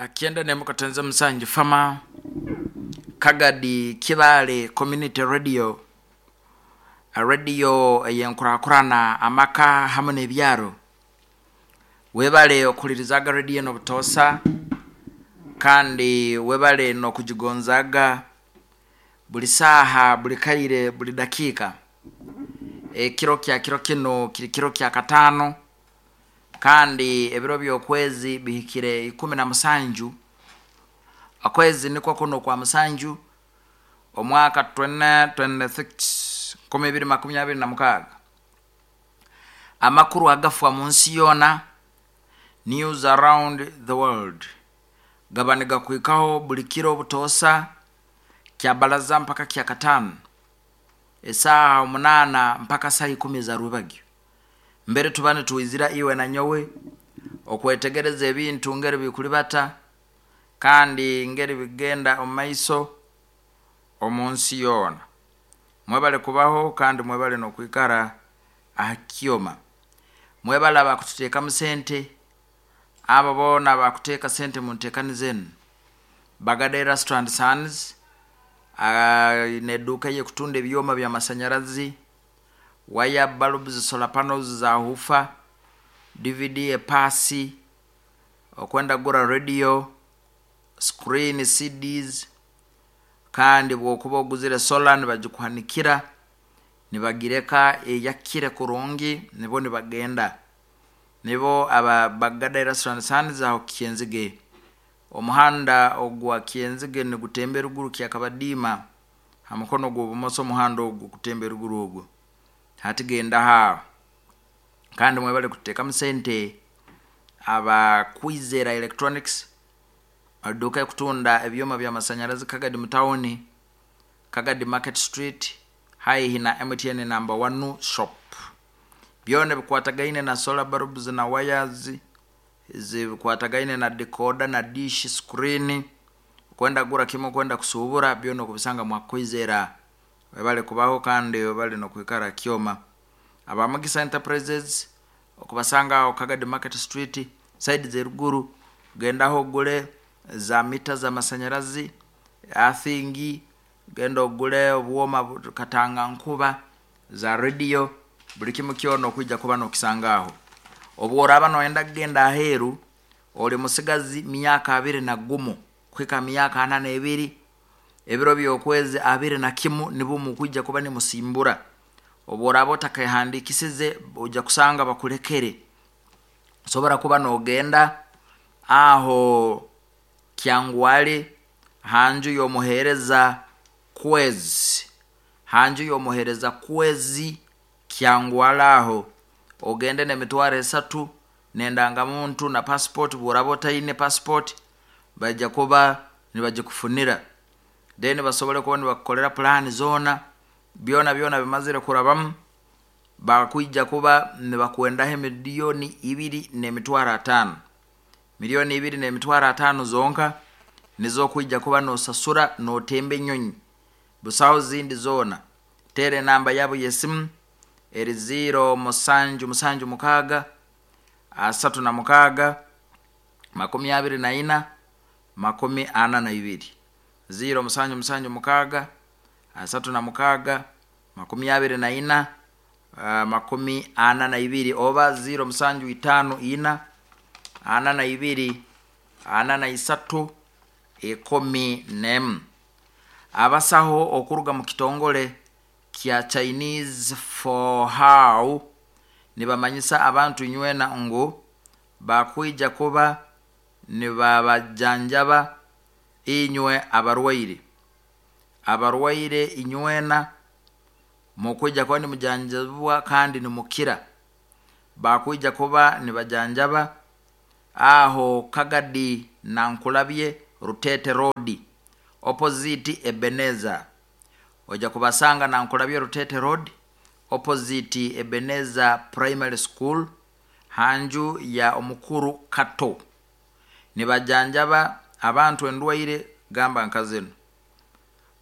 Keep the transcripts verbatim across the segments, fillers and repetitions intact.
Kyenda nemu katenze musanju fama Kagadi Kibale Community Radio, radio eyenkurakurana amaka hamwe n'ebyaro. Webale okulirizaga radio eno butoosa, kandi webale n'okugigonzaga buli saaha, buli kaire, buli dakiika. Ekiro kya kiro kino kiri kiro kya kataano, kandi ebiro by'okwezi bihikire ikumi na musanju. Okwezi nikwo kuno kwa musanju, omwaka twenty twenty-six, nkumi ibiri makumi abiri na mukaaga. Amakuru agafwa mu nsi yoona, news around the world, gaba nigakwikaho buli kiro butoosa kya balaza mpaka kya kataano, esaaha omunaana mpaka saa ikumi za rwebagyo. Mbere tuba nitwizira iwe na nyowe okwetegereza ebintu ngeri bikulibata kandi ngeri bigenda omu maiso omu nsi yoona. Mwebale kubaho kandi mwebale n'okwikara aha kyoma. Mwebale abakututeekamu sente, abo boona abakuteeka sente mu nteekaniza enu. Bagada Erasto and Sons n'edduuka ey'ekutunda ebyoma by'amasanyarazi, wire bulbs, solar panels za hufa, D V D epaasi, okwenda kugura radio, screen, C Ds, kandi bw'okuba oguzire solar nibagikuhanikira, nibagireka eyakire kurungi, nibo nibagenda. Nibo aba Bagada Erasto and Sons aho Kyenzige. Omuhanda ogwa Kyenzige nigutemba eruguru Kyakabadiima, ha mukono gw'obumoso omuhanda ogwo gutemba eruguru ogwo. Hati genda haaho. Kandi mwebale kuteekamu sente aba Kwizera Electronics, edduuka ekutunda ebyoma by'amasanyarazi Kagadi mu tawuni, Kagadi Market Street, haihi na M T N number one shop. Byona bikwatagaine na solar bulbs na wires, zibikwatagaine na decoder na dish screen, kwenda gura kimwe kwenda kusubura, byona okubisanga mwa Kwizera. Webale kubaho kandi webale n'okwikara kyoma. Aba Mugisa Enterprises okubasanga aho Kagadi Market Street side z'eruguru, gendaho ogule za mita z'amasanyarazi athingi, genda ogule obwoma katanga nkuba za radio, buli kimu kyona okwijja kuba n'okisanga aho. Obworaba noyenda kugenda aheeru, oli musigazi myaka abiri na gumu kuhika myaka ana n'ebiri, ebiro by'okwezi abiri na kimu nibwo mukwijja kuba nimusimbura. Obworaba otakahandikisize ojja kusanga bakulekere. Osobora kuba nogenda aho Kyangwale hanju y'omuheereza kwezi, hanju y'omuheereza kwezi Kyangwale aho ogende n'emitwaro esatu n'endangamuntu na passport. Bw'oraba otaine passport bajja kuba nibagikufunira, then basobole kuba nibakukolera plan zoona, byona byona bimazire kurabamu, bakwijja kuba nibakwendaho emiliyoni ibiri n'emitwaro ataano. Miliyoni ibiri n'emitwaro ataano zonka nizo kwijja kuba nosasura notemba enyonyi, busaho zindi zoona. Teera enamba yabo y'esimu eri ziro musanju musanju mukaaga asatu na mukaaga makumi abiri na ina makumi ana na ibiri. Ziro musanju musanju mukaaga asatu na mukaaga makumi abiri na ina, uh, makumi ana na ibiri, oba ziro musanju itaano ina ana na ibiri ana na isatu ikumi n'emu. Abasaho okuruga mu kitongole kya Chinese for how nibamanyisa abantu nywena ngu bakwija kuba nibabajanjaba inywe abarwaire. Abarwaire inywena mukwija kuba nimujanjabwa kandi nimukira. Bakwija kuba nibajanjaba aho Kagadi Nankulabye Rutete Road opposite Ebeneza. Oja kubasanga Nankulabye Rutete Road opposite Ebeneza Primary School hanju ya omukuru Kato. Nibajanjaba abantu endwaire gamba nkazino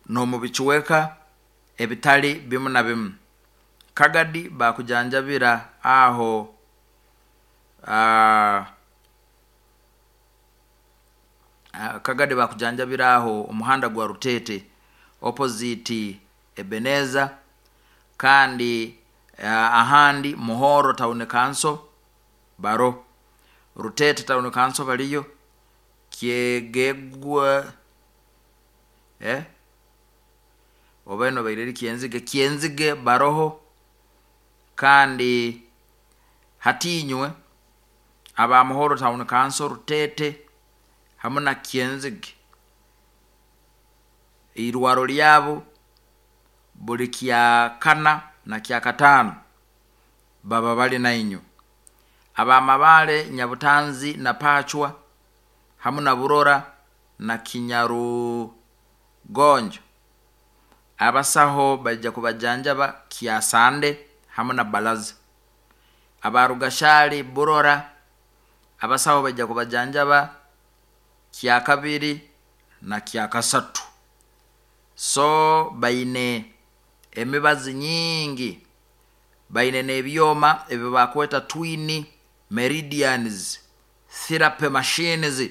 n'omubikiweka ebitali bimu na bimu. Kagadi bakujanjabira aho, uh, Kagadi bakujanjabiraho omuhanda gwa Rutete opposite Ebeneza, kandi uh, ahandi Muhoro Town Council baro, Rutete Town Council baliyo, Kyegegwa eh oba eno baireri Kyenzige, Kyenzige baroho. Kandi hatinywe aba Muhoro Town Council, Rutete hamu na Kyenzige, irwaro lyabo buli kya kana na kya katano baba bali nainywe. Abamabale, Nyabutanzi na Pachwa hamu na Burora na Kinyarugonjo, abasaho baija kubajanjaba kyasande hamu na balaza. Abarugashali, Burora, abasaho baija kubajanjaba kyakabiri na kyakasatu. So baine emibazi nyingi, baine n'ebyoma ebi bakweta twin meridians therapy machines,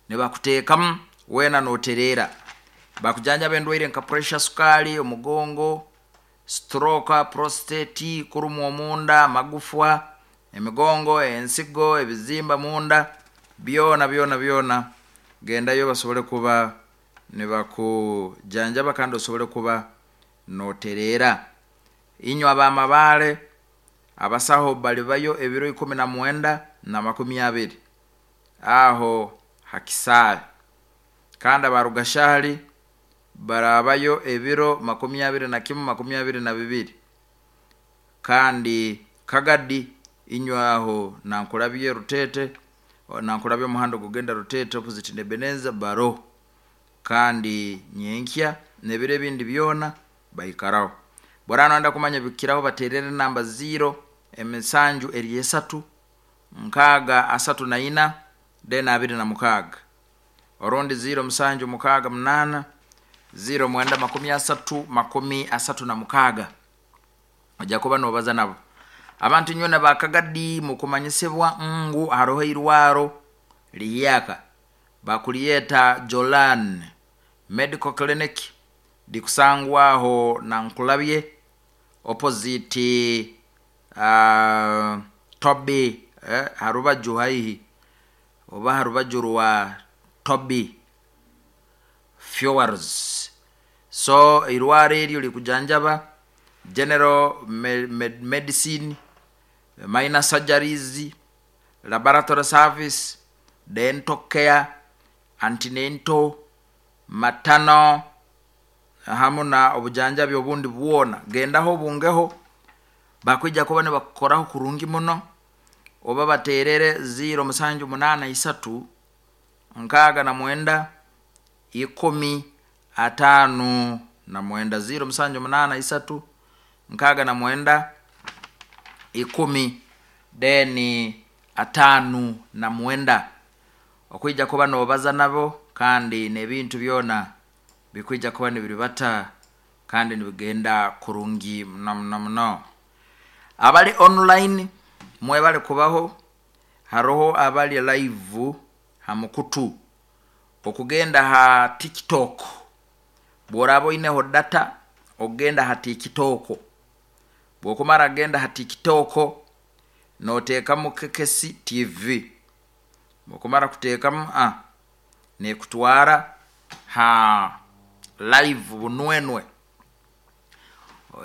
nibakuteekamu wena noterera. Bakujanjaba endwaire nka pressure, sukali, omugongo, stroke, prostate, kurumwa omunda, amagufwa, emigongo, ensigo, ebizimba munda, byona byona byona. Gendayo basobole kuba nibakujanjaba kandi osobole kuba noterera. Inywe abamabale, abasaho balibayo ebiro ikumi na mwenda na makumi abiri aho hakisaale, kandi abarugashali barabayo ebiro makumi abiri na kimu, makumi abiri na bibiri. Kandi Kagadi inywe aho nankulabye Rutete, nankulabye omuhanda ogugenda Rutete opposite Nebeneza baro, kandi nyenkya nebiro ebindi byona baikaraho. Borana wenda kumanya bikiraho, baterere namba zero emisanju eri esatu nkaaga asatu na ina then abiri na mukaaga, orundi zero musanju mukaaga munana zero mwenda makumi asatu makumi asatu na mukaaga. Ojja kuba nobaza nabo. Abantu nywena bakagadi mukumanyisibwa ngu haroho irwaro liyaka bakuliyeta Jolan Medical Clinic, likusangwaho nankulabye opposite uh, Toby eh, harubaju haihi oba harubaju rwa Toby Fuels. So irwaro eryo likujanjaba general me, me, medicine, minor surgeries, laboratory service, dental care, antenatal, maternal hamu na obujanjabi obundi bwona. Gendaho obungeho, bakwija kuba nibakukoraho kurungi muno. Oba baterere zero musanju munana isatu nkaaga na mwenda ikumi atano na mwenda, zero musanju munana isatu nkaaga na mwenda ikumi deni atano na mwenda. Okwija kuba nobaza nabo, kandi n'ebintu byona bikwija kuba nibiribata kandi nibigenda kurungi muno muno muno. Abali online mwebale kubaho, haroho abali live ha mukutu okugenda ha TikTok. Bworaba oineho data ogenda ha TikTok, bwokumara genda ha TikTok noteekamu Kekesi T V, bwokumara kuteekamu ah, nekutwara ha live bunwenwe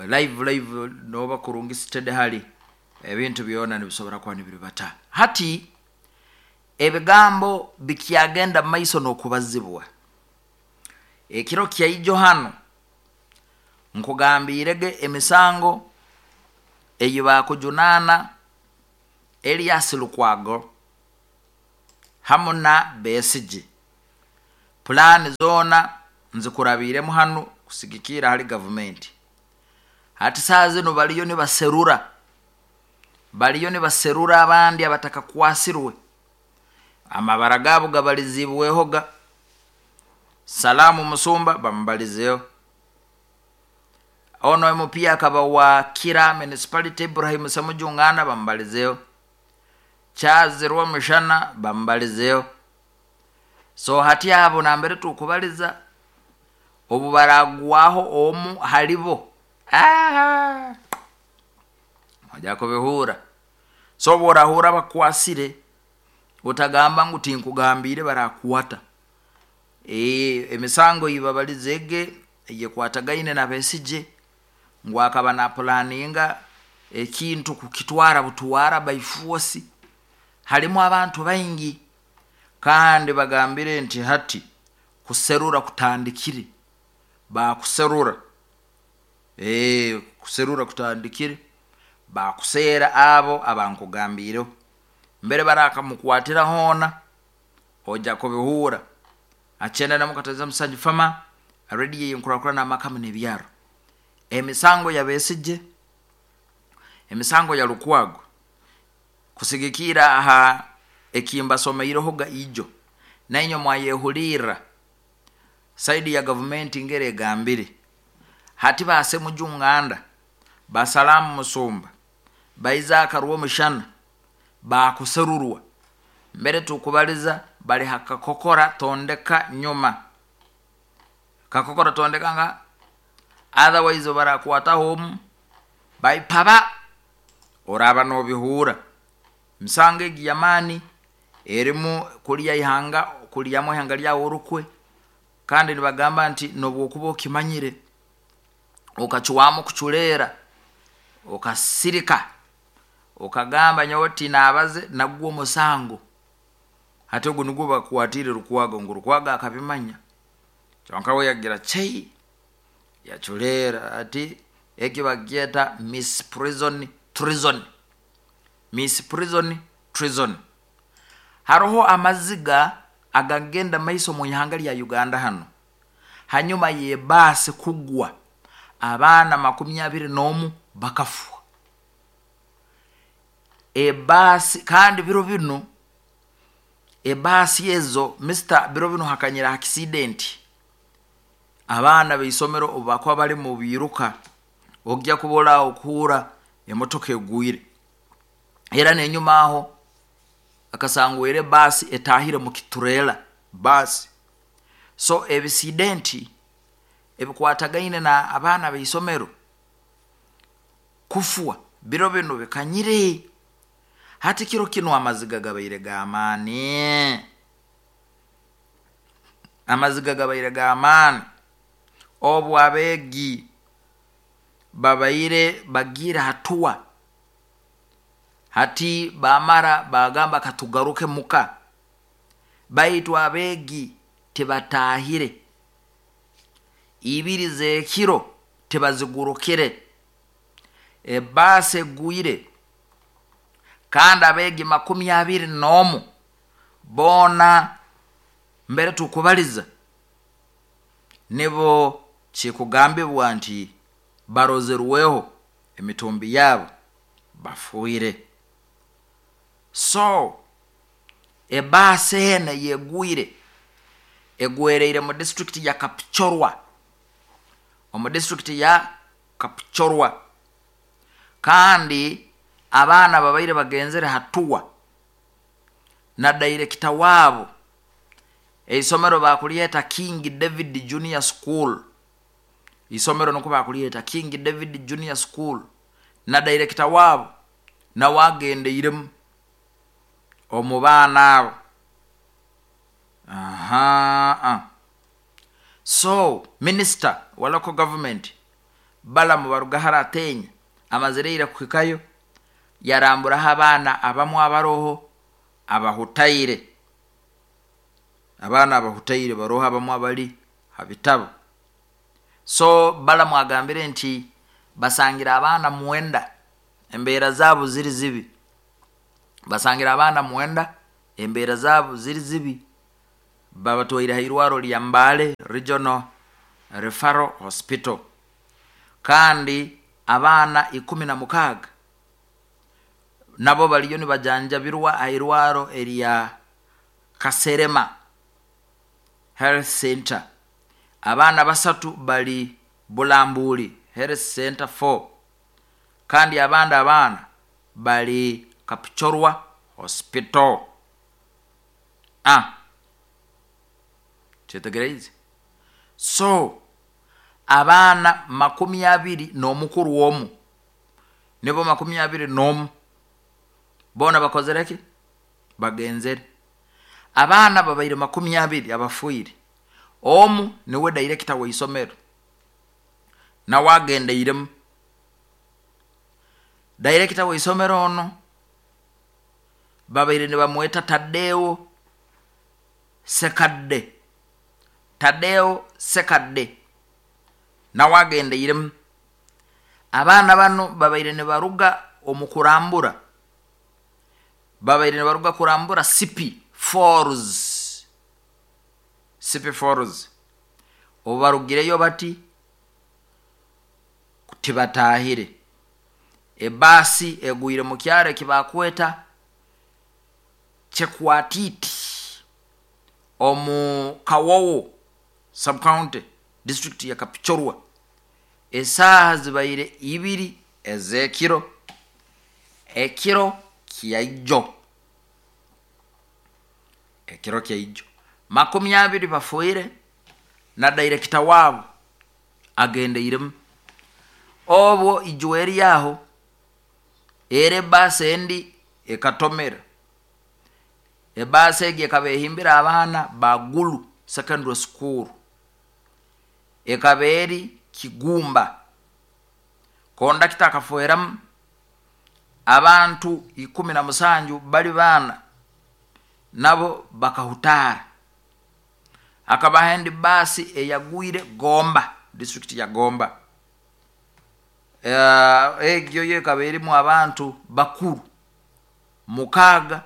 live live noba kurungi steady hali ebintu byona nibisobora kuba nibiribata. Hati ebigambo bikyagenda maiso n'okubazibwa. Ekiro kyaijo hano nkugambirege emisango eyi bakujunana Elias Lukwago hamu na Besigye. Pulani zona nzikurabiremu hano kusigikira hali gavumenti. Hati saa zino baliyo nibaserura, baliyo nibaserura abandi abatakakwasirwe, amabara gabo gabalizibwehoga. Salamu Musumba bamubalizeyo, ono M P akaba wa Kira Municipality Ibrahim Semujungana bamubalizeyo, Chazirwa Mishana bamubalizeyo, So hati abo nambere tukubaliza obu baragwaho omu halibo, ah, ojja kubihura. So obu orahura bakwasire, otagamba ngu tinkugambiire, barakukwata. E, emisango eyibabalize ege eyekwatagaine na Besigye, ngu akaba napulaninga ekintu kukitwara butwara by force. Halimu abantu baingi, kandi bagambire nti hati kuserura kutandikire, bakuserura. E, kuserura kutandikire, bakuseera abo abankugambiireho mbere barakamukwatira hoona, ojja kubihura. Akyenda namukateza musanju fama rediyo yenkurakurana amakamu n'ebyaro. Emisango ya Besigye, emisango ya Lukwago, kusigikira aha ekimbasomeirehoga ijo, nainywe mwayehulirra saidi ya gavumenti ngere egambire. Hati basemuju Nganda, basalamu Musumba, baizaka Rwomushana bakuserurwa, mbere tukubaliza bali hakakokora tondeka nyuma, kakokora tondeka nga otherwise barakwataho omu baipaba, oraba nobihura. Misango egi yamaani erimu kulya ihanga, kulyamu ihanga lyawe orukwe, kandi nibagamba nti nobwokuba okimanyire okacwamu kuculeera, okasirika, okagamba nyowe tinabaze, nagwo omusango. Hati ogu nugwo bakwatire Lukwago, ngu Lukwago akabimanya, kyonka we yagira chei yaculeera. Ati eki bakyeta misprison treason, misprison treason. Haroho amaziga agagenda maiso mu ihanga lya Uganda hano, hanyuma yebaasi kugwa, abaana makumi abiri n'omu bakafwa ebaasi. Kandi biro binu ebaasi ezo mister, biro binu hakanyira accident, abaana b'isomero obu bakuba bali mu biiruka, ojja kubola okuhura emotoka egwire. Era n'enyuma aho akasangwire baasi etahire mu kiturela baasi. So ebisidenti ebikwatagaine na abaana b'isomero kufwa biro binu bikanyire. Hati kiro kinu amaziga gabaire g'amaani, amaziga gabaire g'amaani obu abeegi babaire bagiire hatuwa, hati bamara bagamba katugaruke muka, baitu abeegi tibatahire, ibiri z'ekiro tibazigurukire, ebaasi egwire, kandi abeegi makumi abiri n'omu boona mbere tukubaliza nibo kikugambibwa nti barozerweho emitumbi yabo bafuire. So ebaasi ene yegwire, egwereire mu disitulikiti ya Kapchorwa, omu disitulikiti ya Kapchorwa, kandi abaana babaire bagenzere hatuwa na dairekita waabo. Eisomero bakulyeta King David Junior School, isomero niko bakulyeta King David Junior School, na dairekita waabo nawe agendeiremu omu baana abo. Aha, so minister wa local government Balamu Barugahara Atenya amazireire kuhikayo, yaramburaho abaana abamu abaroho abahutaire, abaana abahutaire baroho abamu abali ha bitabo. So Balamu agambire nti basangira abaana mwenda embeera zaabo ziri zibi, basangira abaana mwenda embeera zaabo ziri zibi, babatwaire ha irwaro lya Mbale Regional Referral Hospital. Kandi abaana ikumi na mukaaga nabo baliyo nibajanjabirwa ha irwaro erya Kaserema Health Center, abaana basatu bali Bulambuli Health Center four, kandi abandi abaana bali Kapchorwa Hospital. Ah, Kyetegereize? So abaana makumi abiri n'omukuru omu, nibo makumi abiri n'omu boona bakozere ki? Bagenzere. Abaana babaire makumi abiri abafiire, omu niwe director w'isomero, nawe agendeiremu. Director w'isomero ono babaire nibamweta Tadeo Sekadde, Tadeo Sekadde nawe agendeiremu. Abaana bano babaire nibaruga omu kurambura, babaire nibaruga kurambura Sipi Falls, Sipi Falls. Obu barugireyo bati tibatahire, ebaasi egwire mu kyaro ekibakweta Chekwatiti omu Kawowo subcounty, district ya Kapchorwa. Esaaha zibaire ibiri ez'ekiro, ekiro kyaijo, ekiro kyaijo. Makumi abiri bafiire na director waabo agendeiremu. Obwo ijo eri aho era ebaasi endi ekatomera. Ebaasi egi ekaba ehimbire abaana ba Gulu Secondary School, ekaba eri Kigumba. Kondakita akafueramu abantu ikumi na musanju bali baana, nabo bakahutaara. Hakabaho endi baasi eyagwire Gomba, district ya Gomba. Uh, egyo yo ekaba erimu abantu bakuru mukaaga,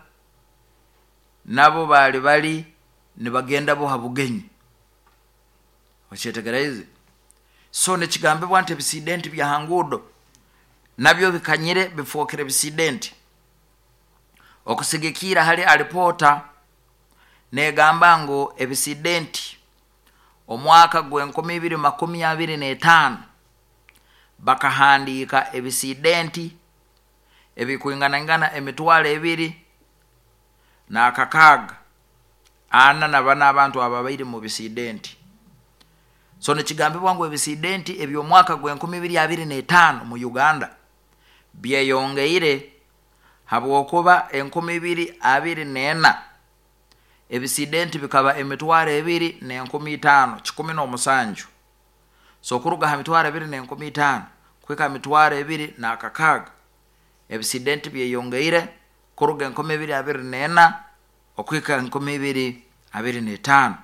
nabo baali bali nibagenda bo ha bugenyi. Okyetegereize? So nekigambibwa nti ebisidenti bya hanguudo nabyo bikanyire, bifookere bisidenti. Okusigikiira hali alipoota negamba ngu ebisidenti omwaka gw'enkumi ibiri makumi abiri n'etaano bakahandiika ebisidenti ebikwinganaingana emitwaro ebiri n'akakaaga ana na bana abantu ababaire mu bisidenti. So nikigambibwa ngu ebisidenti eby'omwaka gw'enkumi ibiri abiri n'etaano mu Uganda byeyongeire, habwokuba enkumi ibiri abiri n'ena ebisidenti bikaba emitwaro ebiri n'enkumi itaano kikumi n'omusanju. So okuruga ha mitwaro ebiri n'enkumi itaano kuhika ha mitwaro ebiri n'akakaaga, ebisidenti byeyongeire kuruga enkumi ibiri abiri n'ena okuhika enkumi ibiri abiri n'etaano.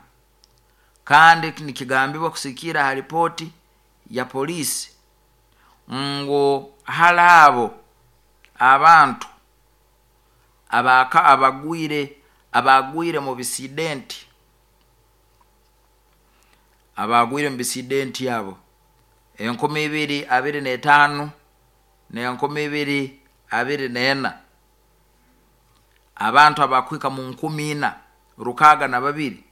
Kandi nikigambibwa kusikiira ha ripooti ya poliisi ngu hali abo abantu abaka abagwire abagwire mu bisidenti, abagwire mu bisidenti abo enkumi ibiri abiri n'etaano n'enkumi ibiri abiri n'ena, abantu abakuhika mu nkumi ina rukaaga na babiri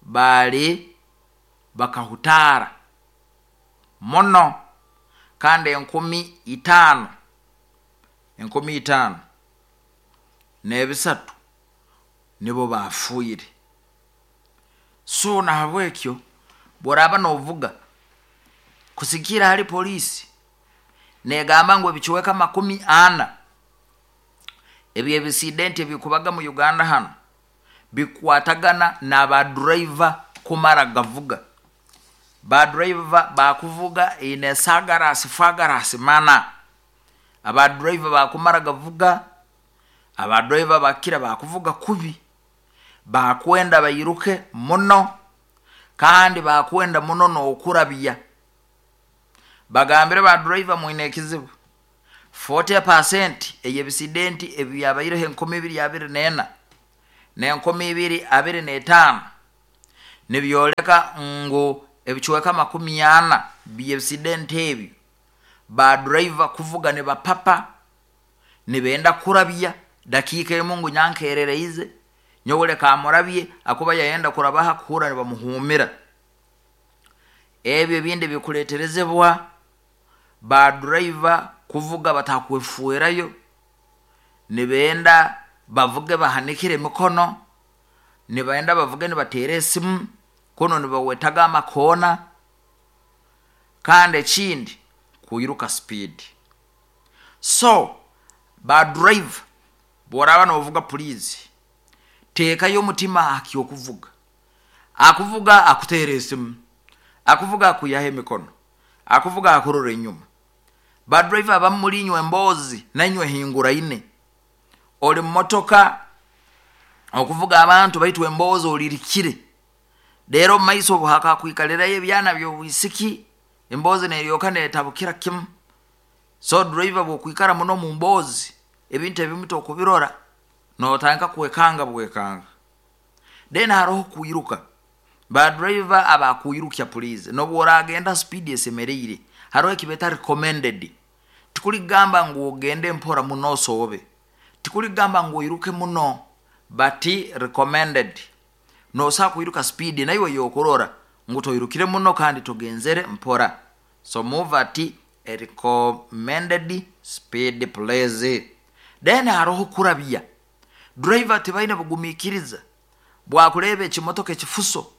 baali bakahutaara muno, kandi enkumi itaano, enkumi itaano n'ebisatu nibo bafiire. So nahabwekyo bworaba novuga, kusikiira hali poliisi negamba ngu ebicweka makumi ana ebyebisidenti ebikubaga mu Uganda hano bikwatagana n'abadriver kumara gavuga. Badriver bakuvuga ine sagarasi fagarasi mana, abadriver bakumara gavuga, abadriver bakira bakuvuga kubi, bakwenda bairuke muno, kandi bakwenda muno n'okurabya. Bagambire badriver mwine ekizibu, forty percent ey'ebisidenti ebyabaireho enkumi ibiri abiri n'ena n'enkumi ibiri abiri n'etaano nibyoleka ngu ebicweka makumi ana by'ebisidenti ebyo badriver kuvuga nibapapa, nibenda kurabya dakiika emu ngu nyankerereize nyowe leka amurabye, akuba yayenda kurabaha kuhura nibamuhumira. Ebyo ebindi bikuleterezebwa badriver kuvuga batakwefuerayo, nibenda bavuge bahanikire emikono, Nibaenda bavuge nibateera esimu, kuno nibawetaga amakoona. Kandi ekindi, kwiruka speed. So ba driver, bworaba novuga, please teekayo omutima akyokuvuga. Akuvuga akuteera esimu, akuvuga akuyaho emikono, akuvuga akurora enyuma. Ba driver abamu mulinywa emboozi nainywe hinguraine, oli mumotoka okuvuga abantu, baitu emboozi olirikire. Rero mumaiso obu hakakwikalirayo ebyana byobwisiki, emboozi neryoka netabukira kimu. So driver, bwokwikara muno mu mboozi, ebintu ebimu tokubirora, notandika kwekanga bwekanga. Then haroho kwiruka. Ba driver abakwirukya, please, nobu oragenda speed esemereire, haroho ekibeta recommended. Tikuligamba ngu ogende mpora muno osoobe, tikuligamba ngu oiruke muno, but recommended nosobola kwiruka speed naiwe yokurora ngu toirukire muno kandi togenzere mpora. So move at a recommended speed, please. Then haroho kurabya. Driver tibaine bugumiikiriza bwakureeba ekimotoka ekifuso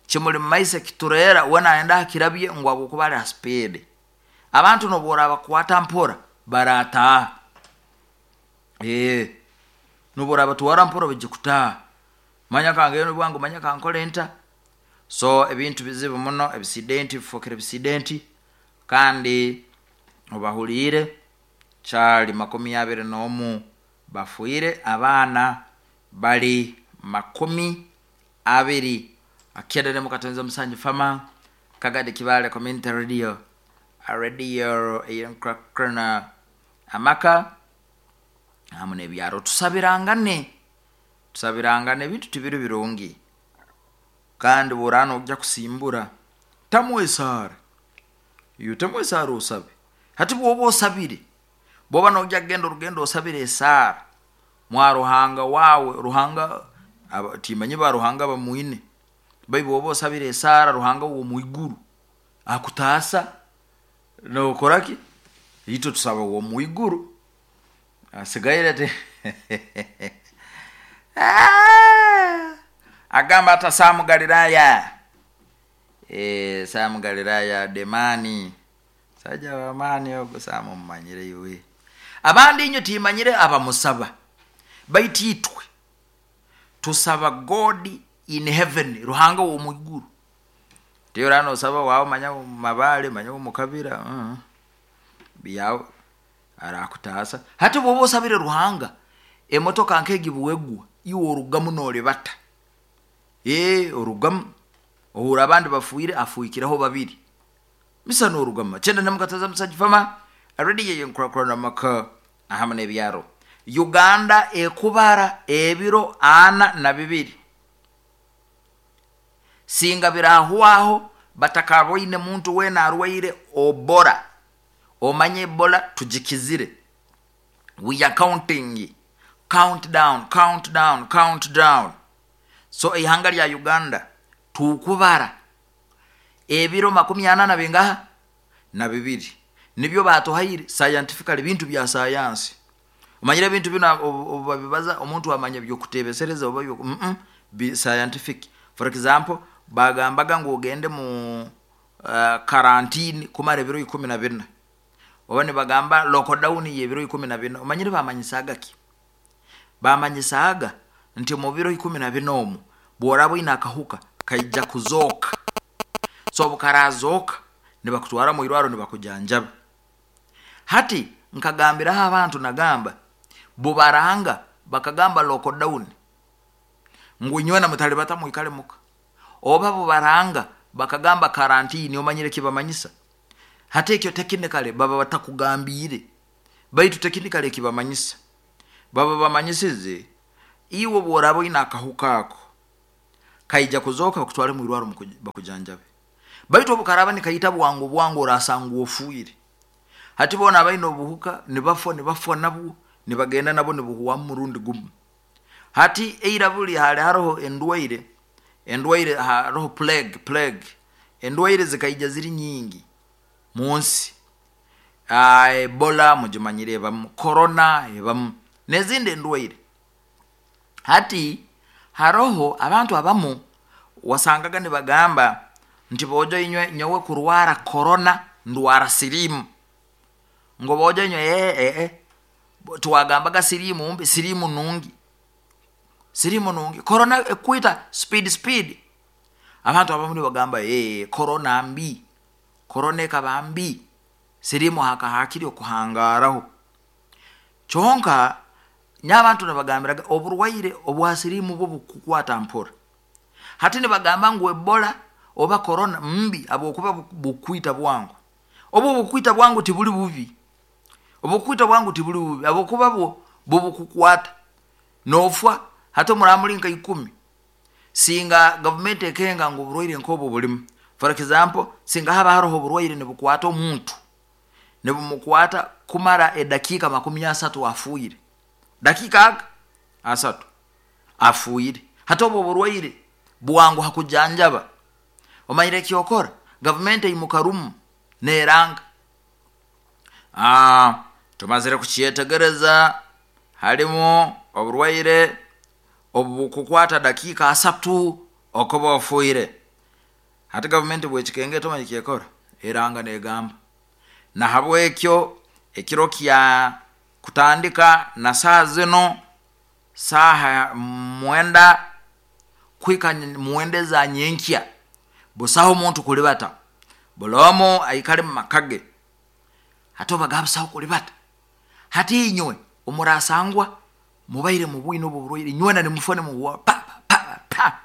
kimuli mumaiso ekitureera, we nayenda akirabye ngu habwokuba ali ha speed. Abantu nobu orabakwata mpora barataaha, ee nobu orabatwara mpora baija kutaaha. Manya kangende bwangu, manya kankole nta. So ebintu bizibu muno, ebisidenti bifokere bisidenti. Kandi obahuliire, kyali makumi abiri n'omu bafiire, abaana bali makumi abiri. Akyenda mukatonza musanju fama Kagadi Kibale Community Radio, radio eyenkurakurana amaka hamu n'ebyaro. Tusabirangane, tusabirangane, ebintu tibiri birungi. Kandi bworaba nojya kusimbura, tamu esaara, iwe temu esaara osabe. Hati bwoba osabire, bwoba nojya kugenda orugendo, osabire esaara mwa Ruhanga wawe. Ruhanga timanye ba Ruhanga bamwine, bai bwoba osabire esaara Ruhanga w'omwiguru akutaasa, nokoraki? Itwe tusaba w'omwiguru asigaire te agamba ata Samu Galilaya, e, Samu Galilaya demani saja wamani ogo. Samu mumanyire iwe, abandi inywe timanyire abamusaba, baitu itwe tusaba God in heaven, Ruhanga w'omwiguru. Tiyo nosaba wawe manya mabale, manya mukabira, uh, byawe arakutaasa. Hati bwoba osabire Ruhanga, emotoka nkegi bwegwa, iwe orugamu nolibata, ee orugamu ohura abandi bafuire, afuikireho babiri misa norugama. Kyenda namukataza musajja fama, radio yenkurakurana maka ahamu n'ebyaro. Uganda ekubara ebiro ana na bibiri singa birahwaho batakaboine muntu wena arwaire obora. Omanye Ebola tugikizire. We are counting, count down, count down, count down. So ihanga lya Uganda tukubara ebiro makumi ana na bingaha? Na bibiri. Nibyo batuhaire scientifically, bintu bya sayansi. Omanyire ebintu bino obu babibaza, omuntu amanya byokutebesereza oba byo mm -mm, bi scientific. For example, bagambaga ngu ogende mu uh, karantini kumara ebiro ikumi na bina, oba nibagamba lockdown y'ebiro ikumi na bina. Omanyire bamanyisaga ki? Bamanyisaga nti mu biro ikumi na bina omu bworaba oine akahuka, kaija kuzooka. So obukarazoka, nibakutwara mu irwaro nibakujanjaba. Hati nkagambiraho abantu, nagamba bubaranga bakagamba lockdown ngu inywena mutalibata, mwikale muka, oba bubaranga bakagamba karantini, omanyire kibamanyisa? Hati ekyo technically baba batakugambiire, baitu technically ekibamanyisa, baba bamanyisize iwe bworaba oine akahuka ako, kaija kuzooka, bakutwale mu irwaro bakujanjabe. Baitu obukaraba nikaita bwangu bwangu, orasanga ofuire. Hati bona abaine obuhuka nibafwa, nibafwa nabwo, nibagenda nabo, nibuhwamu murundi gumu. Hati eira buli hali haroho endwaire, endwaire haroho plague, plague, endwaire zikaija ziri nyingi munsi. Ebola mugimanyire ebamu, corona ebamu, nezindi endwaire. Hati Haroho abantu abamu wasangaga nibagamba nti bojo inywe nyowe kurwara korona ndwara sirimu, ngo bojo inywe ee ee twagambaga sirimu mbi, sirimu nungi, sirimu nungi, korona ekwita speed speed. Abantu abamu nibagamba ee korona mbi, korona ekaba mbi, sirimu hakahakiri okuhangaraho. Kyonka n'abantu nibagambiraga oburwaire obwa sirimu bwo bukukwata mpora. Hati nibagamba ngu ebola oba korona mbi habwokuba bukwita bwangu. Obu bukwita bwangu tibuli bubi, obukwita bwangu tibuli bubi habwokuba bwo bubukukwata nofwa. Hati omuramuli nka ikumi, singa gavumenti ekenga ngu oburwaire nkobu bulimu, for example singa haba haroho oburwaire nibukwata omuntu, nibumukwata kumara edakiika makumi asatu afuire, dakiika aga asatu afuire. Hati obu oburwaire bwanguha kujanjaba, omanyire ekyokora, gavumenti eimuka rumu neranga, aa tumazire kukyetegereza halimu oburwaire obukukwata dakiika asatu okuba ofuire. Hati gavumenti bwekikenga eti ekyekora, eranga negamba nahabwekyo ekiro kya kutandika na saaha zinu, saaha mwenda kuhika mwenda eza nyenkya, busaho omuntu kulibata, buli omu aikale mumaka ge. Hati obagamba busaho kulibata, hati inywe omurasangwa mubaire mubwine obu oburwaire, inywena nimufwa nimuhwaho pa pa pa.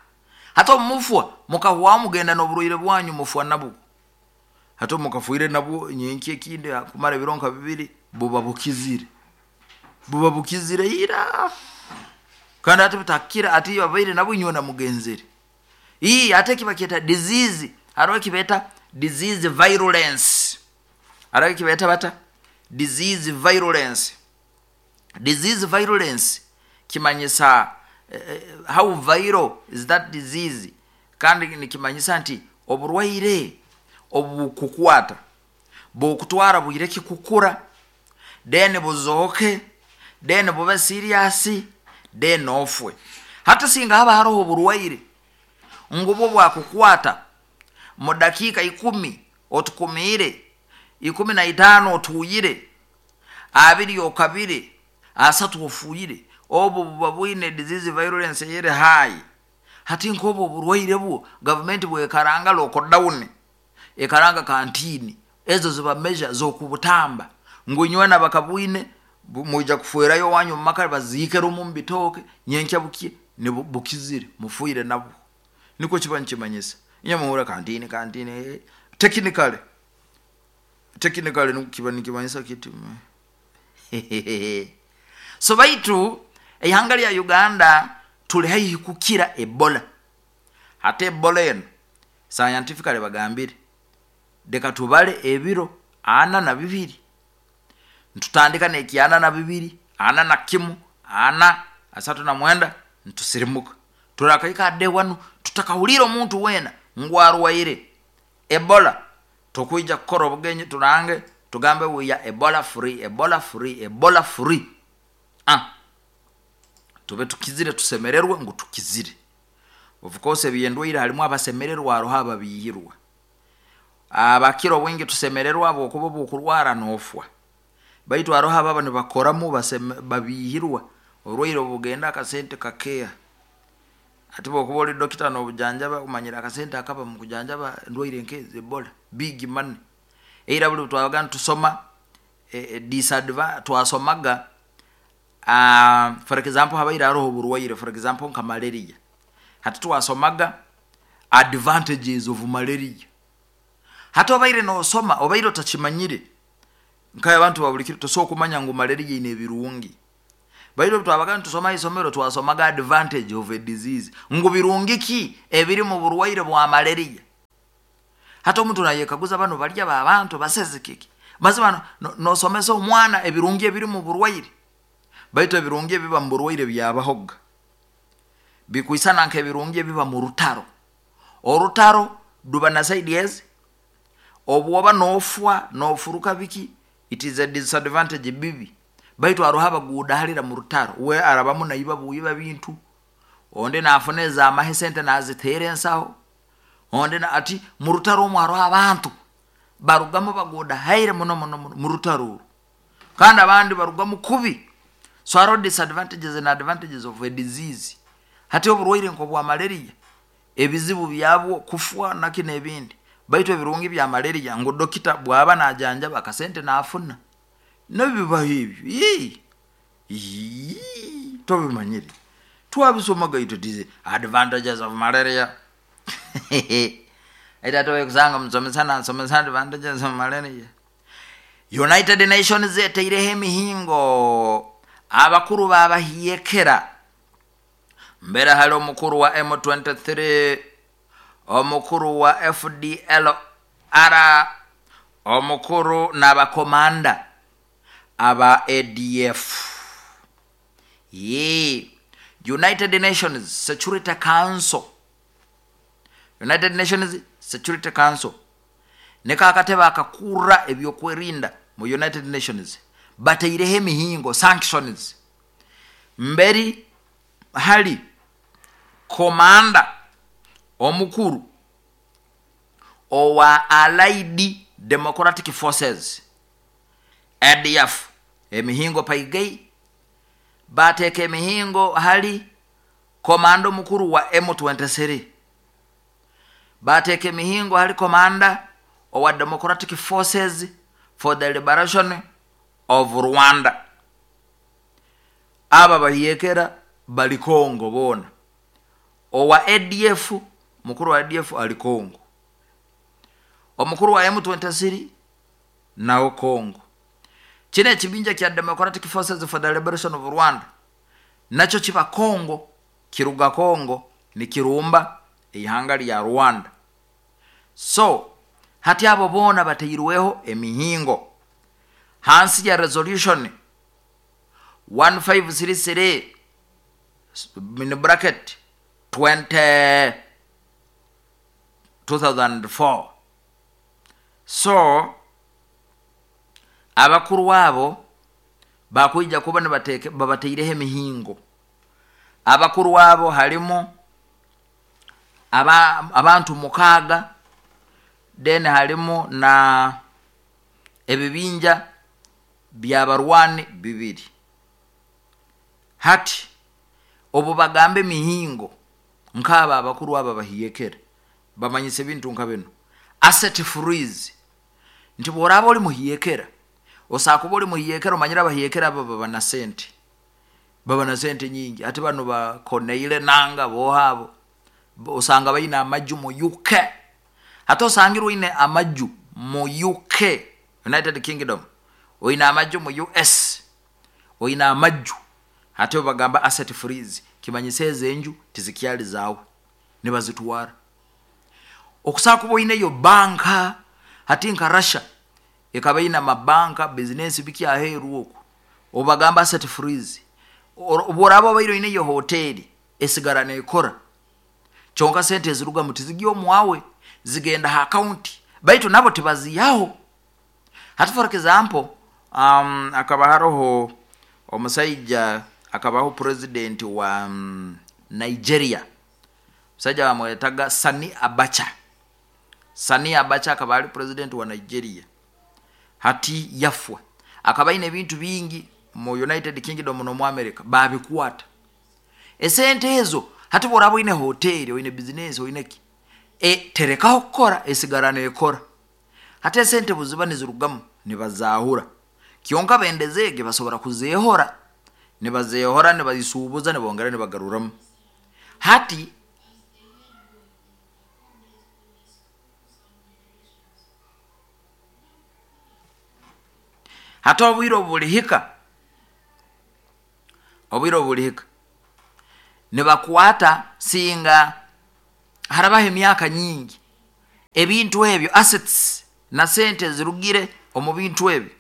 Hati obu mufwa mukahwaho mugenda n'oburwaire bwanyu, mufwa nabwo. Hati obu mukafwire nabwo, nyenkya ekindi kumara ebiro nka bibiri buba bukizire, buba bukizire ira, kandi hati butakira, hati ababaire nabwo inywena mugenzere. Ii hati eki bakyeta disease, haroho ekibeeta disease virulence, haroho ekibeeta bata disease virulence. Disease virulence kimanyisa eh, how viral is that disease, kandi nikimanyisa nti oburwaire obukukwata bukutwara bwire ki kukura, then buzooke, then bube serious, then ofwe. Hati singa haba haroho oburwaire ngu bwo bwakukwata mu dakiika ikumi otukumiire, ikumi na itaano otuuyire, abiri okabire, asatu ofuire, obu buba bwine disease virulence eyeri high. Hati nkobu oburwaire bwo gavumenti bwekaranga lockdown, ekaranga kantini, ezo ziba measure z'okubutamba ngu inywena bakabwine mwija kufwerayo owanyu mumaka, baziike rumu mubitooke, nyenkya bukye bukizire mufuire nabwo. Nikwo kiba nikimanyisa. Inywe muhurra kantini kantini, technically technically kiba nikimanyisa kiti. So baitu eihanga lya Uganda tuli haihi kukira ebola. Hati ebola enu scientifically bagambire leka tubale ebiro ana na bibiri, ntutandika nekyana na bibiri, ana na kimu, ana asatu na mwenda, ntusirimuka turakaika ade wanu tutakahulire omuntu weena ngu arwaire ebola. Tukwija kukora obugenyi turange tugambe we are ebola free, ebola free, ebola free. Ah, tube tukizire, tusemererwe ngu tukizire. Of course ebyendwaire halimu abasemererwa, haroho ababihirwa. Abakira obwingi tusemererwa habwokuba obukurwara nofwa, baitu haroho ababa nibakoramu babihirwa oburwaire obugenda akasente kakeha. Hati bwokuba ori dokita nobujanjaba, omanyire akasente akaba mukujanjaba endwaire nkezi ebola, big money. Eira buli twabaga nitusoma e, disadva twasomaga uh, for example habaire haroho oburwaire, for example nka malaria. Hati twasomaga advantages of malaria. Hati obaire nosoma obaire otakimanyire, nka abantu babulikiro tosobola kumanya ngu malaria ine ebirungi. Baitu obu twabaga nitusoma isomero twasomaga advantage of a disease, ngu birungi ki ebiri mu burwaire bwa malaria. Hati omuntu nayekaguza bano balya babantu baseze kiki, mazima nosomesa omwana ebirungi ebiri mu burwaire, baitu ebirungi ebiba mu burwaire byabahoga bikwisana nk'ebirungi ebiba mu rutaro. Orutaro ruba na side ezi, obwoba nofwa nofuruka biki, it is a disadvantage bibi, baitu haroho abagudahalira mu rutaro, we arabamu naiba buiba bintu, Ondi nafuna ezamahe sente naziteera ensaho. Ondi na- ati mu rutaro omwo haroho abantu barugamu bagudahaire muno muno muno mu rutaro oru, kandi abandi barugamu kubi. So haroho disadvantages and advantages of a disease. Hati oburwaire nk'obwa malaria, ebizibu byabwo kufwa naki nebindi, baitu ebirungi bya malaria ngu dokita bwaba najanjaba akasente nafuna. Nabyo bibaho ebyo, ii ii tobimanyire, twabisomaga itwe disease, advantages of malaria. Ati ate kusanga musomesa nasomesa advantages of malaria. United Nations etaireho emihingo, abakuru babahiekera mbere hali omukuru wa M twenty-three, omukuru wa F D L R, omukuru n'abakomanda aba A D F. Ye United Nations Security Council, United Nations Security Council niko akatebe akakura ebyokwerinda mu United Nations, bataireho emihingo, sanctions. Mberi hali komanda omukuru owa Allied Democratic Forces A D F, emihingo paigei bateka emihingo hali komanda omukuru wa M twenty-three, bateka emihingo hali komanda owa Democratic Forces for the Liberation of Rwanda. Aba bahiyekera bali Kongo bona. Owa A D F, mukuru wa A D F ali Kongo, omukuru wa M twenty-three nao Kongo. Kino ekibinja kya Democratic Forces for the Liberation of Rwanda nakyo kiba Kongo, kiruga Kongo nikirumba ihanga lya Rwanda. So hati abo bona batairweho emihingo hansi ya resolution one five three three in bracket twenty two thousand four. So abakuru abo bakwija kuba nibateke babateireho emihingo. Abakuru abo halimu aba, abantu mukaga, then halimu na ebibinja byabarwani bibiri. Hati obu bagambe mihingo nkaba abakuru aba bahiyekere bamanyise bintu nka bino. Asset freeze, nti bworaba oli muhiyekera, osakuba oli muhiyekera, omanyira abahiyekera aba baba na sente, baba na sente nyingi. Ati bano ba Corneille Nanga bohabo osanga bayina amaju mu U K. Hata osangirwe oyine amaju mu U K, United Kingdom, oyina amaju mu U S, oyina amaju. Hata bagamba asset freeze, kimanyisa ezenju tizikyali zaawe nibazitwara. Okusakuba oyineyo banka, hati nka Russia ekaba ina mabanka, business biki aheru oku, obagamba asset freeze. Obworaba obaire oyineyo hoteli esigara nekora, kyonka sente eziruga mu tizigyo omwawe zigenda ha account, baitu nabo tibaziyaho. Hati for example, um, akaba haroho omusajja akabaho president wa um, Nigeria, musajja bamwetaga Sani Abacha. Sani Abacha akaba ali president wa Nigeria. Hati yafwa, akaba ine ebintu bingi mu United Kingdom no mu America babikwata esente ezo. Hati bworaba oyine hoteli, oyine business, oyine ki, e, terekaho kukora, esigara nekora. Hati esente buziba nizirugamu nibazahura, kyonka bendezege basobora kuzehora, nibazehora nibazisubuza nibongera nibagaruramu. Hati hati obwire obulihika, obwire obulihika nibakwata singa harabaho emyaka nyingi, ebintu ebyo assets na sente zirugire omu bintu ebyo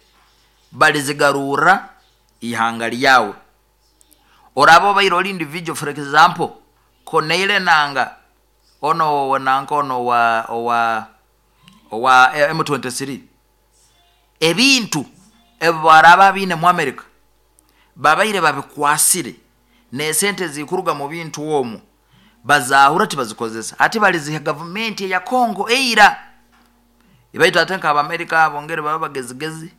balizigarura ihanga lyawe. Oraba obaire oli individual, for example Corneille Nanga ono nanka ono wa owa owa M twenty-three, ebintu ebyo baraba bine mu America babaire babikwasire N'esente zikuruga mu bintu omwo bazahura, tibazikozesa, ati baliziha gavumenti eya Kongo eira. Baitu ate nk'Abamerika bongere baba bagezigezi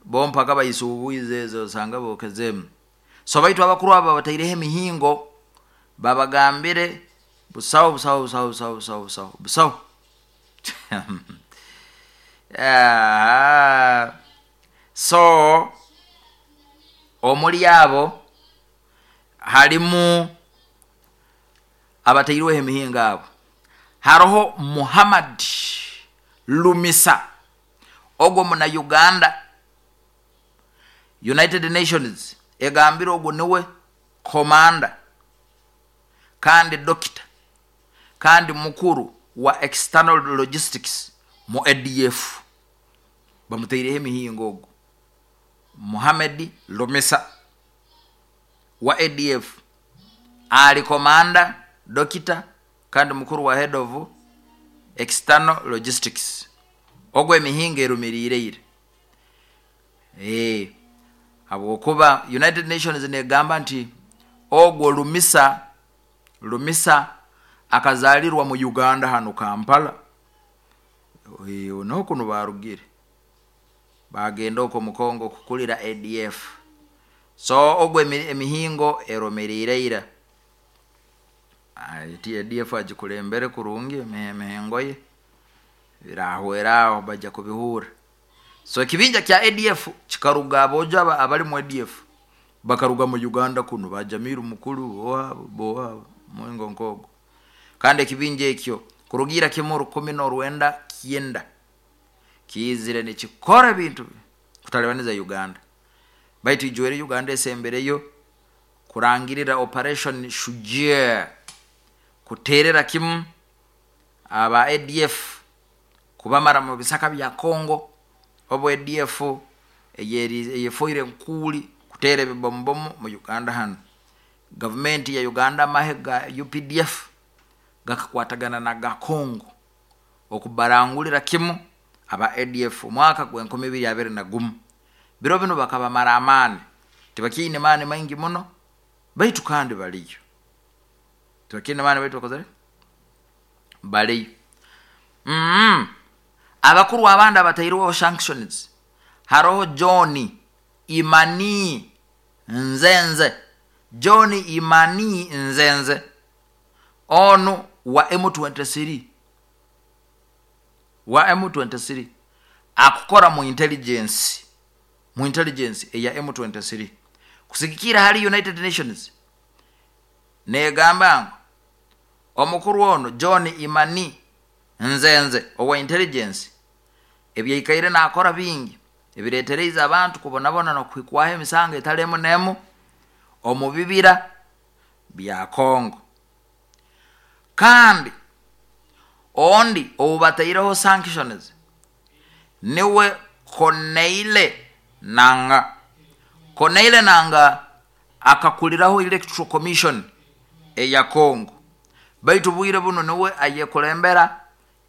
bo, mpaka bayisuubwize ezo, osanga bokezemu. So baitu abakuru abo bataireho emihingo, babagambire busaho, busaho, busaho, busaho, busaho, busaho, busaho. Ah, so omuli abo halimu abatairweho emihingo abo, haroho Muhammad Lumisa, ogwo muna Uganda. United Nations egambire ogwo niwe komanda kandi dokita kandi mukuru wa external logistics mu A D F. Bamutaireho emihingo ogwo Muhammad Lumisa wa A D F, ali komanda, dokita kandi mukuru wa head of external logistics. Ogwo emihingo erumiriireire e, habwokuba United Nations negamba nti ogwo Lumisa, Lumisa akazalirwa mu Uganda hano Kampala. E, niho kuno barugire bagenda okwo mu Kongo kukulira A D F. So ogwo emihingo erumiriire ira ti A D F agikulembere kurungi, emihingo ye birahweraho, bajja kubihura. So ekibinja kya A D F kikaruga, abojo abali mu A D F bakaruga mu Uganda kuno, bajamiru mukuru boabo boabo muingo nkogo. Kandi ekibinja ekyo kurugira kimu rukumi n'orwenda kyenda kiizire nikikora ebintu kutalibaniza Uganda. Baitu ijwere Uganda esembereyo kurangirira Operation Shujaa, kuterera kimu aba A D F, kubamara mu bisaka bya Congo. Obu A D F eyefoire nkuuli kuteera ebibomubomu mu Uganda hano, gavumenti ya Uganda, amahe ga U P D F gakakwatagana na ga Congo okubarangulira kimu aba A D F omwaka gwenkumi ibiri abiri na gumu. Biro bino bakabamara amaani, tibakiine maani maingi muno, baitu kandi baliyo. Tibakiine maani, baitu bakozere baliyo. mm. Abakuru abandi abatairweho sanctions, haroho John Imani Nzenze. John Imani Nzenze onu wa M twenty-three, wa M twenty-three, akukora mu intelligence, mu intelligence eya M twenty-three. Kusigikira hali United Nations, negamba ngu omukuru ono John Imani Nzenze owa intelligence ebyaikaire nakora bingi ebiretereize abantu kubonabona nokuhikwaho emisango etalemu nemu omu bibira bya Congo. Kandi ondi oubataireho sanctions niwe Corneille Nanga. Corneille Nanga akakuliraho Electoral Commission eya Congo, baitu bwire buno niwe ayekulembera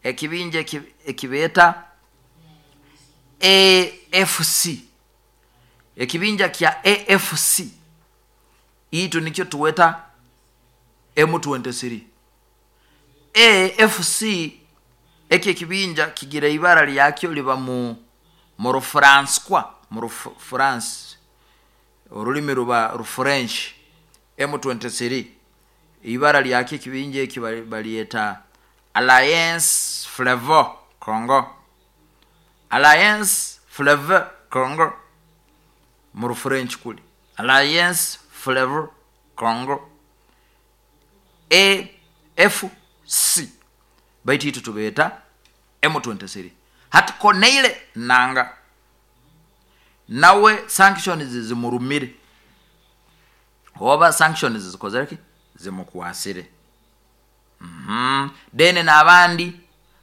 ekibinja ekibeeta A F C, ekibinja kya A F C. Itu nikyo tuweta M twenty-three. A F C eki ekibinja kigira ibara lyakyo liba mu mu Rufrançois, mu Rufrance, orulimi ruba Rufrench. M twenty-three ibara lyakyo ekibinja eki balyeta Alliance Fleuve Congo, Alliance Fleuve Congo mu Rufrench kuli Alliance Fleuve Congo, A F C, baitu itu tubeeta M twenty-three. Hati Corneille Nanga nawe sanctions zimurumire, oba sanctions zikozereki zimukwasire. mm -hmm. Then n'abandi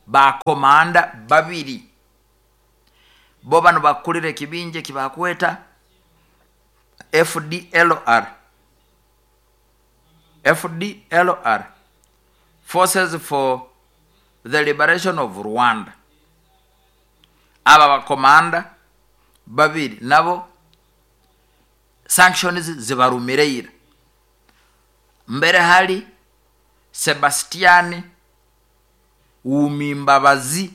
bakomanda babiri, bo bano bakulira ekibinja ekibakweta F D L R, F D L R, Forces for the Liberation of Rwanda. Aba bakomanda babiri nabo sanctions zibarumireira. Mbere hali Sebastiani Uumimbabazi,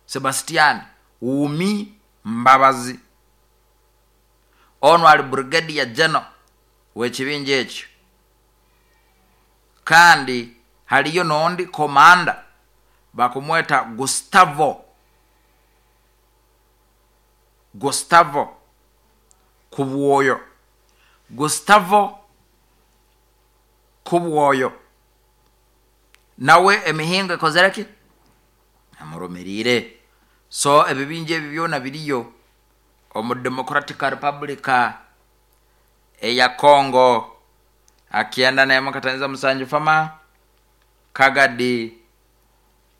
Sebastiani Uumi Mbabazi, ono ali brigadier general w'ekibinja ekyo. Kandi haliyo n'ondi komanda bakumweta Gustavo Gustavo Kubwoyo, Gustavo Kubwoyo, nawe emihingo ekozere ki amurumirire. So ebibinja ebi byona biriyo omu Democratic Republic eya Congo. Akienda nemo kataniza musanju fama Kagadi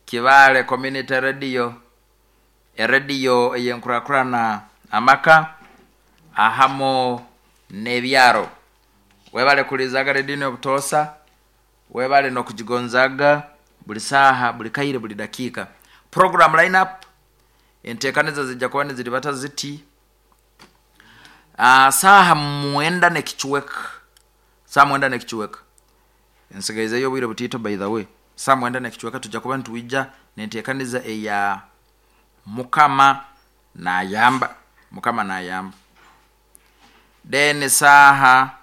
Kibale Community Radio, eradio eyenkurakurana amaka ahamo n'ebyaro. Webale kulizaga redini obutosa, webale nokujigonzaga buli saha, buli kaire, buli dakika. Program lineup entekaniza zijja kuba niziribata ziti. Uh, saha mwenda nekichweka, saha mwenda nekichweka, ensigaizeyo obwire butiito by the way. Saha mwenda nekichweka tujja kuba nituija nentekaniza eya Mukama nayamba, Mukama nayamba. Then saha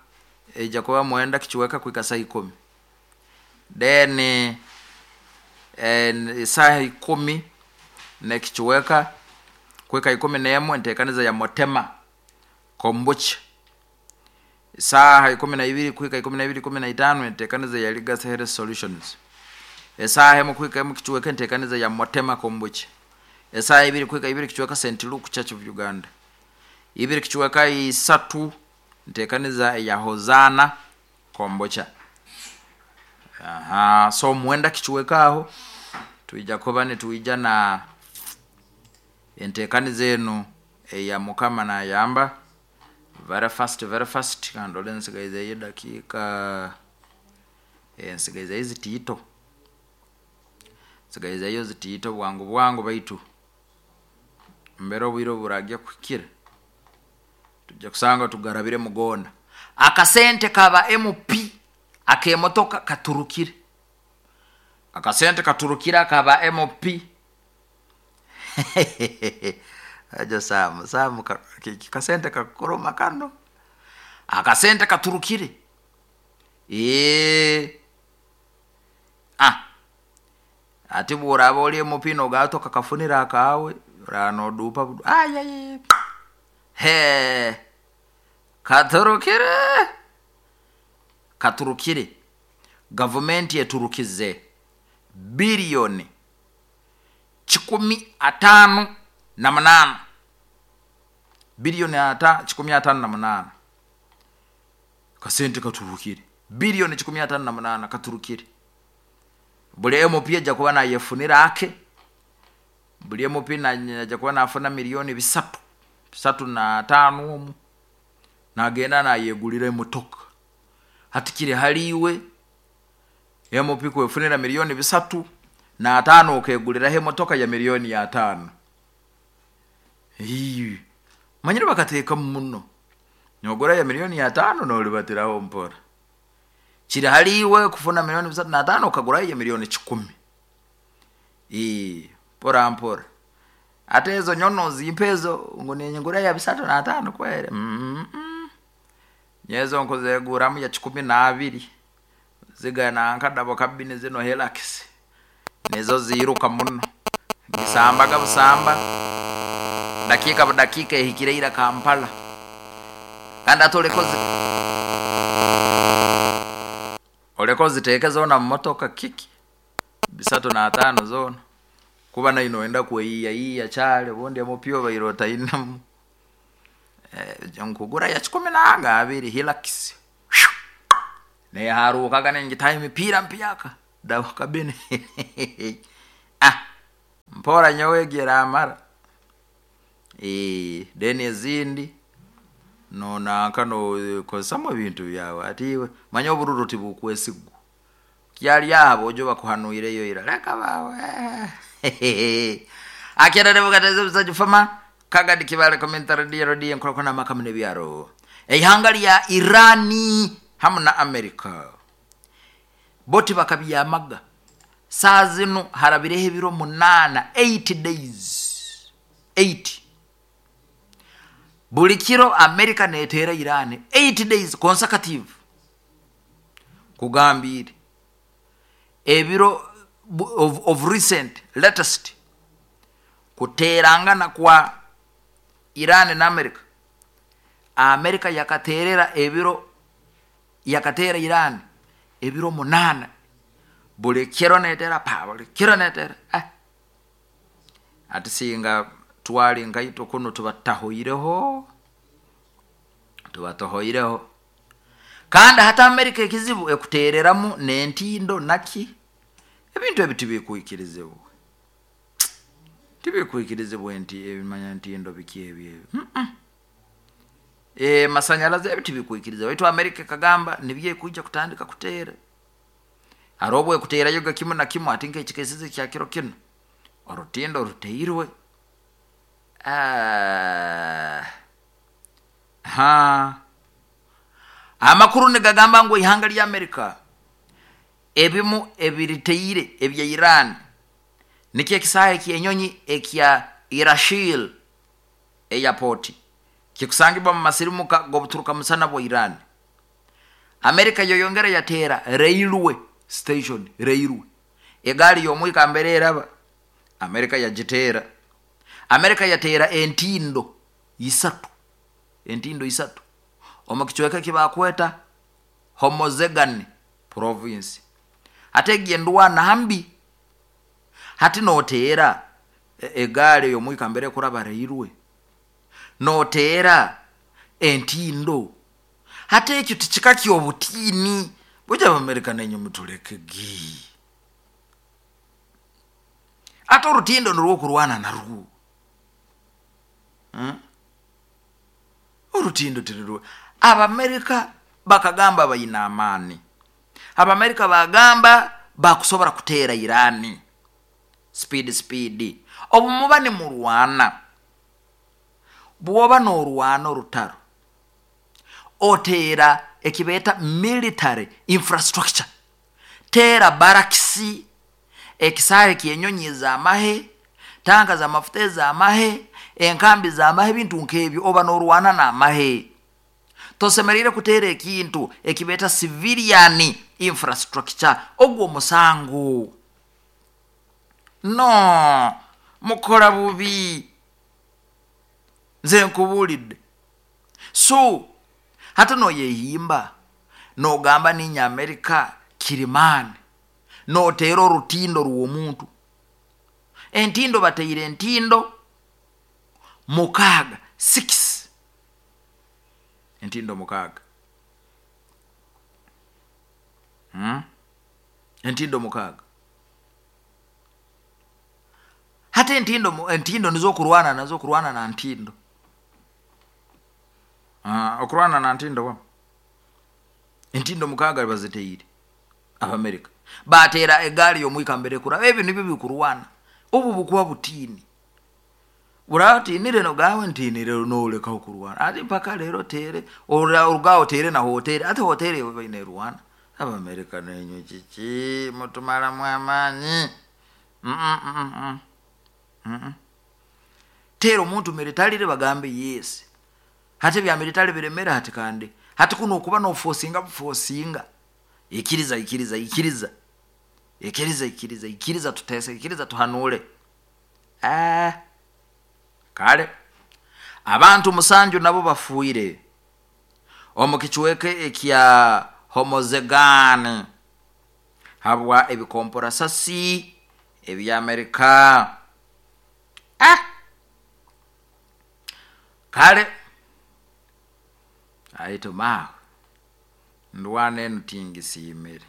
ejja kuba mwenda kichweka kuika saa ikumi. Then eh, saha ikumi nekichweka kuika ikumi n'emwe entekaniza ya Motema Kombucha. Saha ikumi na ibiri kuika ikumi na ibiri ikumi na itano entekaniza ya Legacy Health Solutions. Esaha emu kuika emu kichweka entekaniza ya Motema Kombucha. Esaha ibiri kuika ibiri kichweka Saint Luke Church of Uganda. Ibiri kichweka isatu ntekaniza ya Hozana Kombucha. Aha, so mwenda kichweka aho tuija kuba nituija na entekaniza enu eya Mukama nayamba. Very fast, very fast. Kandole nsigaizeyo dakika ensigaizeyo zitiito, nsigaizeyo zitiito bwangu bwangu baitu mbere obwire oburagya kuhikira tujja kusanga tugarabire mugona. Akasente kaba M P akemotoka katurukire, akasente katurukira kaba M P. Ajo samu samu ka, kasente kakoroma kano, akasente katurukire. Eh ah ati buraba oli M P nogato kakafunira akawe rano dupa ay he katurukire, katurukire. Government yeturukize bilioni kikumi atano na munana, bilioni ata kikumi atano na munana kasente katurukire, bilioni kikumi atano na munana katurukire. Buli M P ajja kuba nayefunira ake, buli M P najja kuba nafuna milioni bisatu bisatu na tano omu nagenda nayegulira emotoka. Hatikire haliwe M P kwefunira milioni bisatu na tano okegulira emotoka ya milioni ya tano. Hii manyire bakateeka muno nyogora ya milioni ya tano nolibatiraho mpora. Kiri haliwe kufuna milioni bisatu na tano okagura ya milioni kikumi. Ii pora mpora ate ezo nyono zimpezo ngo nenyengura ya bisatu na tano kwere. Mm -mm. Nyezo nkozeguramu ya kikumi na abiri zigana nkadabo kabini zino Hilux nizo ziruka muno gisambaga busamba dakika budakika ehikire ira Kampala. Kandi atoleko zi oleko ziteeke zona mu motoka kiki bisatu na tano zona kuba na inoenda kweyiya yiya chale bundi amupyo bairota inamu eh nkugura ya kikumi na abiri Hilux ne harukaga nengitaye mipira mpyaka dawa kabini. Ah mpora nyowegera amara eh deni ezindi no nankano kozesa ebintu byawe atiwe manya obururu tibukwesigu kyali yabo ojo bakuhanuireyo ira leka bawe. Akera rebugateze busaju fama Kagadi Kibale commentary radio radio nkorako na makamune byaro eihanga lya Irani hamu na Amerika. Bo tibakabyamaga. Saa zinu harabireho ebiro munaana, eight days, eight. Buli kiro Amerika neteera Iran, eight days consecutive. Kugambiire ebiro of, of recent latest kuteerangana kwa Iran na Amerika, Amerika yakateerera ebiro, yakateera Iran ebiro munaana, buli kiro neteera pa, buli kiro neteera. Ah, ati singa twali nkaitwe kuno tubatahoireho, tubatahoireho. Kandi hati Amerika ekizibu ekuteereramu n'entindo naki, ebintu ebi tibikwikirizibwa, tibikwikirizibwa. Nti ebimanya ntindo biki ebyo ebyo mm -mm. E, masanyalaze ebi tibikwikirizibwa. Baitu Amerika ekagamba nibyo ekwija kutandika kuteera. Hari obu ekuteerayoga kimu na kimu, ati nk'ekikesize kya kiro kinu orutindo ruteirwe. Ah. Ha, amakuru nigagamba ngu ihanga lya Amerika ebimu ebiriteire ebya Iran nikyo ekisaaha ekyenyonyi ekya Irashil Airport kikusangibwa mu masirimuka g'obuturuka musana bwa Iran. Amerika yoyongera yateera railway station, railway, egaari y'omwika mbere eraba, Amerika yagiteera. Amerika yateera entindo isatu, entindo isatu omu kicweka ekibakweta Hormozgan province. Ate egi endwana mbi. Hati noteera egaari ey'omwika mbere ekuraba, railway, noteera entindo, hati ekyo tikika ky'obutiini bujja. Abamerika nenye mutulekegi. Ate orutindo nirwo okurwana narwo, hmm? Orutindo tirirwo. Abamerika bakagamba bayina amaani, Abamerika bagamba bakusobora kuteera Irani speed speed. Obu muba nimurwana, bwoba norwana orutaro, oteera ekibeeta military infrastructure, teera barracks, ekisaahe ekyenyonyi ez'amahe, tanka z'amafuta ez'amahe, enkambi z'amahe, ebintu nk'ebyo. Oba norwana n'amahe. Tosemeriire kuteera ekintu ekibeeta civilian infrastructure, ogwo omusango. No mukora bubi, nze nkubuulidde. So hati noyehimba nogamba ninye Amerika kirimaani, noteera orutindo rw'omuntu. Entindo bateire entindo mukaaga, six, entindo mukaaga, hmm? Entindo mukaaga. Hati entindo, entindo nizo okurwana nazo, okurwana na ntindo. Uh, okurwana na ntindo wa entindo mukaaga baziteire. Abamerika bateera egaari y'omwika mbere kuraba, ebyo nibyo bikurwana. Obu bukuba butiini, buratinire nogawe ntinire nolekaho kurwana. Ati mpaka leero tere orugaho tere na hoteri, ate hoteri ewe baine rwana. Abamerika nenywe kiki mutumalamu amaanyi? mm -mm -mm. Mm -mm. Teera omuntu militarily bagambe yes. Hati ebya military biremere. Hati kandi hati kuno okuba nofosinga bufosinga, ikiriza, ikiriza, ikiriza, ikiriza, ikiriza, ikiriza, tutese, ikiriza, tuhanule. Ah. Kale abantu musanju nabo bafuire omu kicweka ekya Hormozgan habwa ebikomporasasi ebyamerika. Ah! Kale aitu maawe ndwana enu tingisiimire,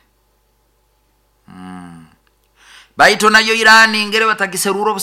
mm. Baitu nayo Irani ngere batagiserura obusa.